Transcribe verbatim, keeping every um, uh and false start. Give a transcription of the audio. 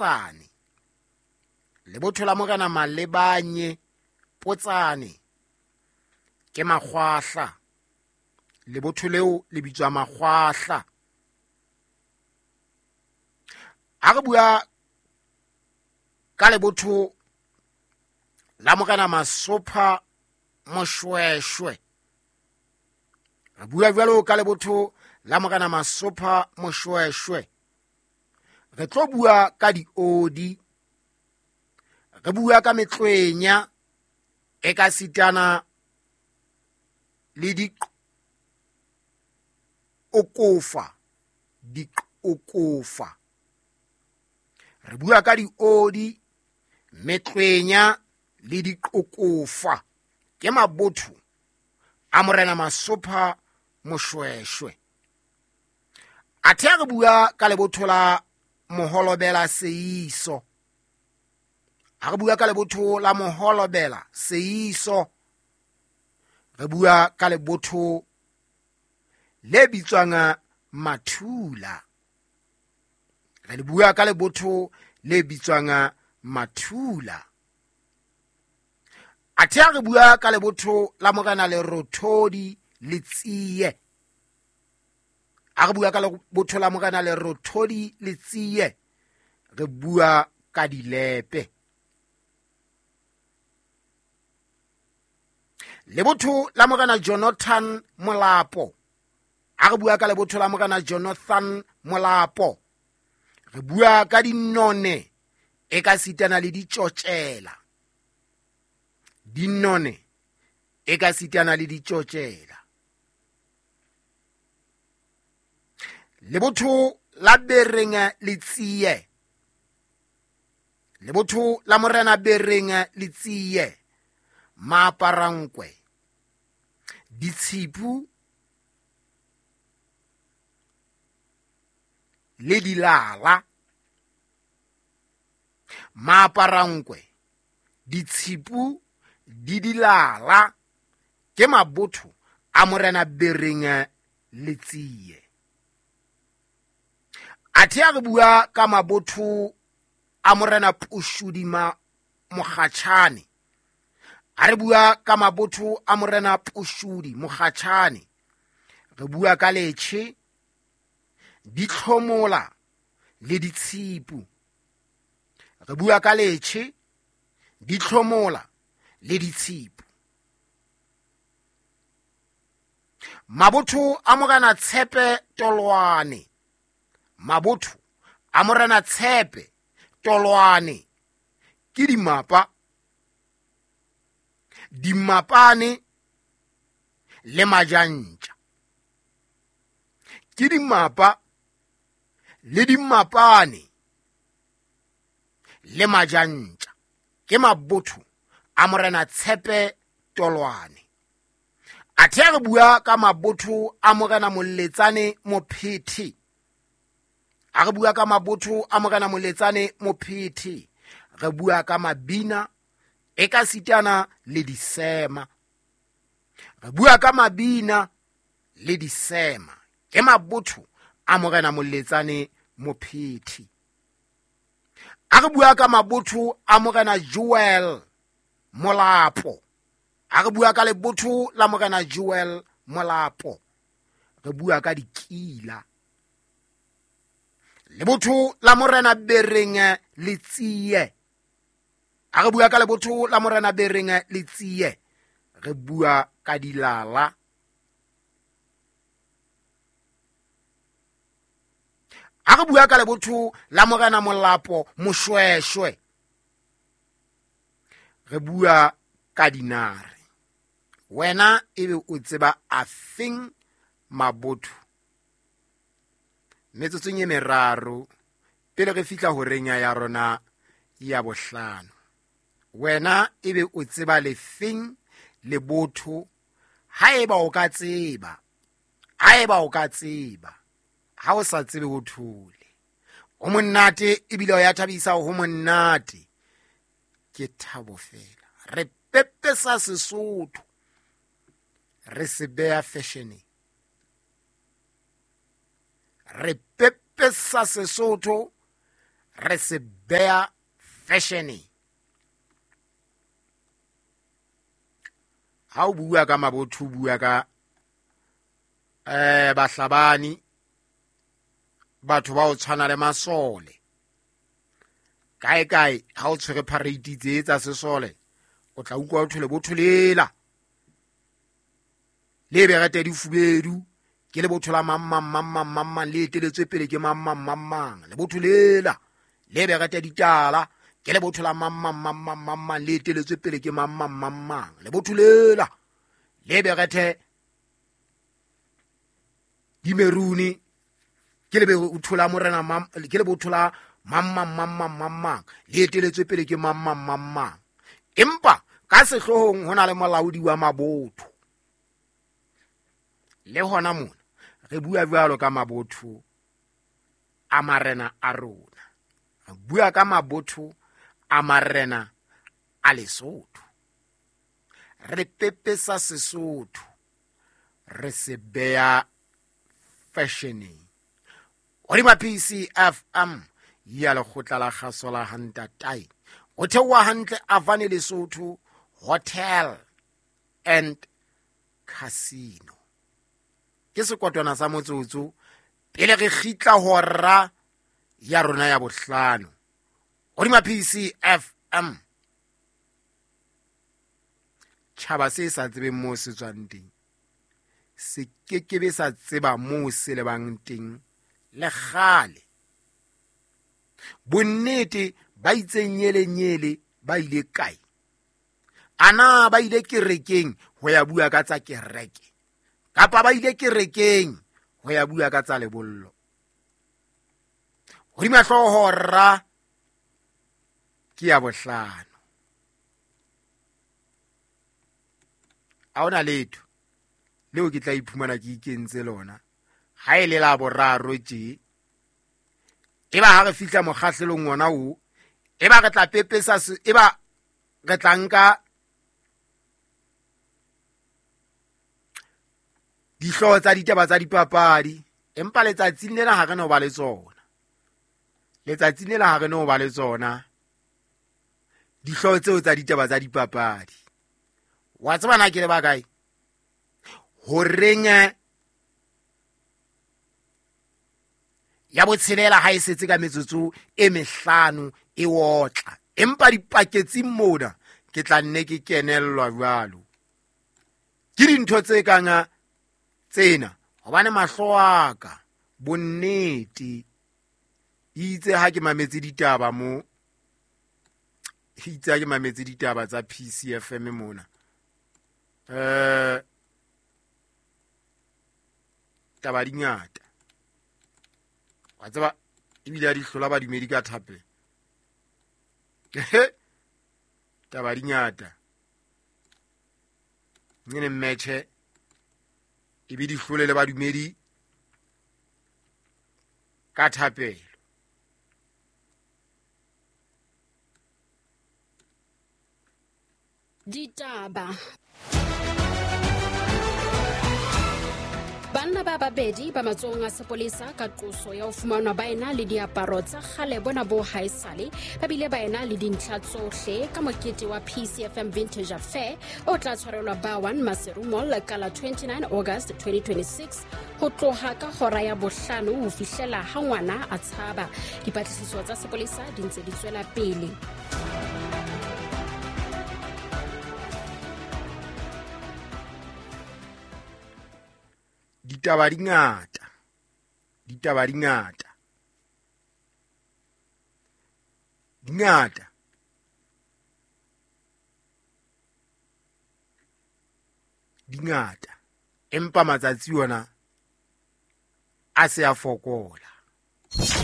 Potsane. Lebotho la Morena Malebanye Potsane ke Makgwahla. Lebotho leo le bitswa Makgwahla. Ha re bua ka lebotho la Morena Masopha Moshweshwe, re bua jwalo ka lebotho la Morena Masopha Moshweshwe, re tlo bua ka diodi, re bua ka metlwenya e ka sitana le diqokofa, diqokofa. Re bua ka diodi, metlwenya le diqokofa, ke mabotho a Morena Masopha Moshweshwe. Athe re bua ka lebotho la Moholobela Seiso, ha re bua ka lebotho la Moholobela Seiso, re bua ka lebotho le bitswang Mathula. Re le bua ka lebotho le bitswang Mathula. Athe re bua ka lebotho la Morena Lerothodi Letsie, ha re bua ka lebotho la Morena Lerothodi Letsie, re bua ka dilepe. Lebotho la Morena Jonathan Molapo, ha re bua ka lebotho la Morena Jonathan Molapo, re bua ka dinone e ka sitana le ditjotjela. Dinone e ka sitana le ditjotjela. Lebotho la Bereng Letsie, lebotho la Morena Bereng Letsie, Maaparankwe, ditshipu le dilala. Maaparankwe, ditshipu di dilala ke mabotho a Morena Bereng Letsie. Athe re bua ka mabotho a Morena Pushudima Mokgatjhane, ha re bua ka mabotho a Morena Pushudi Mokgatjhane, re bua ka letjhe, ditlhomola le ditshipu. Re bua ka letjhe, ditlhomola le ditshipu. Mabotho a Morena Tshepe Tolwane, mabotho a Morena Tshepe Tolwane ke dimapa, dimapane le majantja. Ke dimapa le dimapane le majantja, ke mabotho a Morena Tshepe Tolwane. Athe re bua ka mabotho a Morena Moletsane Mophethe, ha re bua ka mabotho a Morena Moletsane Mophethe, re bua ka mabina e ka sitana le disema. Re bua ka mabina le disema, ke mabotho a Morena Moletsane Mophethe. Ha re bua ka mabotho a Morena Joel Molapo, ha re bua ka lebotho la Morena Joel Molapo, re bua ka dikila. Lebotho la Morena Bereng Letsie, ha re bua ka lebotho la Morena Bereng Letsie, re bua ka dilala. Ha re bua ka lebotho la Morena Molapo Moshweshwe, re bua ka dinare. Wena ebe o tseba afeng mabotho? Metsotsong e meraro pele re fihla horeng ya rona ya bohlano, wena ebe o tseba lefeng lebotho? Haeba o ka tseba, haeba o ka tseba, ha o sa tsebe ho thole. Ho monate ebile o ya thabisa, ho monate ke thabo fela. Re pepesa Sesotho, re se beha fashioneng. Re pepesa Sesotho, re se beha fashioneng. Ha o bua ka mabotho, o bua ka eh bahlabani, batho ba o tshwana le masole. Kae kae ha o tshwere parade tse tsa sesole, o tla utlwa o thole botho lela le berete di fubedu, ke le botho la mang mang mang mang mang mang, le eteletswe pele ke mang mang mang mang. Le botho lela le berete ditala, ke le botho la mang mang mang mang mang mang, le eteletswe pele ke mang mang mang mang. Le botho lela le berete dimeruni, ke le botho la morena mang, ke le botho la mang mang mang mang mang mang, le eteletswe pele ke mang mang mang mang. Empa ka sehloohong ho na le molaodi wa mabotho. Le hona mona re bua jwalo ka mabotho a marena a rona, re bua ka mabotho a marena a Lesotho. Re pepesa Sesotho, re se beha fashioneng. Hodima P C F M ya lekgotla la kgaso la Hantatai, ho theoha hantle Avane Lesotho Hotel and Casino. Ke sekotwana sa motsotso pele re kgitla hora ya rona ya bohlano. Hodima P C F M, tjhaba se sa tsebeng moo se tswang teng se kekebe sa tseba moo se lebang teng le kgale. Bonnete ba itseng nyele nyele ba ile kae? Ana ba ile kerekeng ho ya bua ka tsa kereke, kapa ba ile kerekeng ho ya bua ka tsa lebollo? Hodima hlooho ra ke ya bohlano. Ha hona letho leo ke tla iphumana ke ikentse lona ha e le la boraro tje. Eba ha re fihla mokgahlelong wona o, eba re tla pepesa, eba re tla nka dihlooho tsa ditaba tsa dipapadi, empa letsatsing lena ha re no ba le tsona. Letsatsing lena ha re no ba le tsona dihlooho tseo tsa ditaba tsa dipapadi. Wa tseba na ke le ba kae? Horeng ya botshelela ha e setse ka metsotso e mehlano e otla, empa dipaketsing mona ke tla nne ke kenellwa jwalo ke dintho tse kang tsena, hobane mahlo a ka bonnete itse ha ke mametse ditaba mo, itse ha ke mametse ditaba tsa P C F M mona, eh taba di ngata. Wa tseba ebile a di hlola badumedi ka thapelo. Taba di ngata. Nene mmetjhe ebe di hlole le badumedi ka thapelo. Ditaba. Banna ba babedi ba matsohong a sepolesa ka qoso ya ho fumanwa ba ena le diaparo tsa kgale bona bo haesale, ba bile ba ena le dintlha tsohle ka mokete wa P C F M Vintage Affair o tla tshwarelwa Bawan Maseru Mall ka la twenty-nine August twenty twenty-six ho tloha ka hora ya bohlano ho fihlela ha ngwana a tshaba. Dipatlisiso tsa sepolesa di ntse di tswela pele. Ditaba di ngata, ditaba di ngata, di ngata. Di ngata, empa matsatsi ona a se a fokola.